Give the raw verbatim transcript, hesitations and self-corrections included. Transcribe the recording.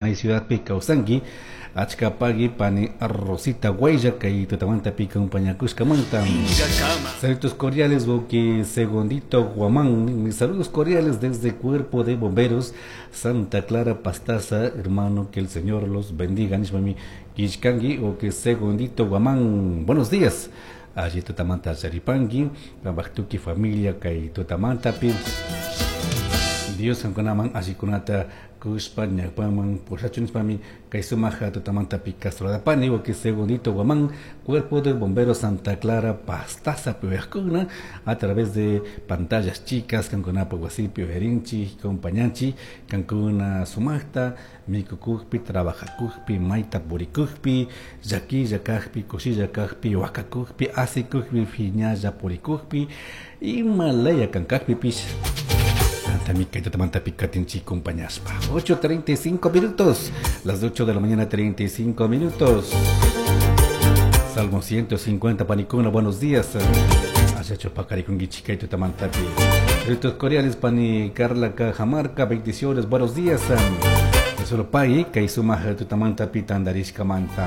Ciudad kawsanki achka pagui pani Rosita Guaya kay tutamantapi compañakushkamanta. Saludos cordiales, Boqui Segundito Guamán. Mis saludos cordiales desde Cuerpo de Bomberos Santa Clara Pastaza, hermano, que el Señor los bendiga. Nishmami Kishkangi o que Segundito Guamán. Buenos días. Allí tutamanta Charipangi, Tuki familia kay tutamantapi. Dios kankunaman allikunata kushpa ñawpaman pushachun nishpami kay sumaja tutamantapi Castro o que Segundito Guamán, Cuerpo de Bomberos Santa Clara Pastaza piuyajkuna a través de pantallas chicas kankunapa wasipi uyarinchik compañanchik kankuna sumajta mikukukpi trabajakukpi mayta purikukpi llaquilla kajpi kushilla kajpi wakakukpi asikukpi phiñalla purikukpi ima laya kankakpipish compañaspa. ocho treinta y cinco minutos, las ocho de la mañana treinta y cinco minutos. Salmo ciento cincuenta, panicuna, buenos días. Hacha pacarikunguichi tutamantapi. Ritos cordiales, pani Carla Cajamarca, bendiciones, buenos días. Solo pagui, kay sumaja tutamantapi tandarishkamanta.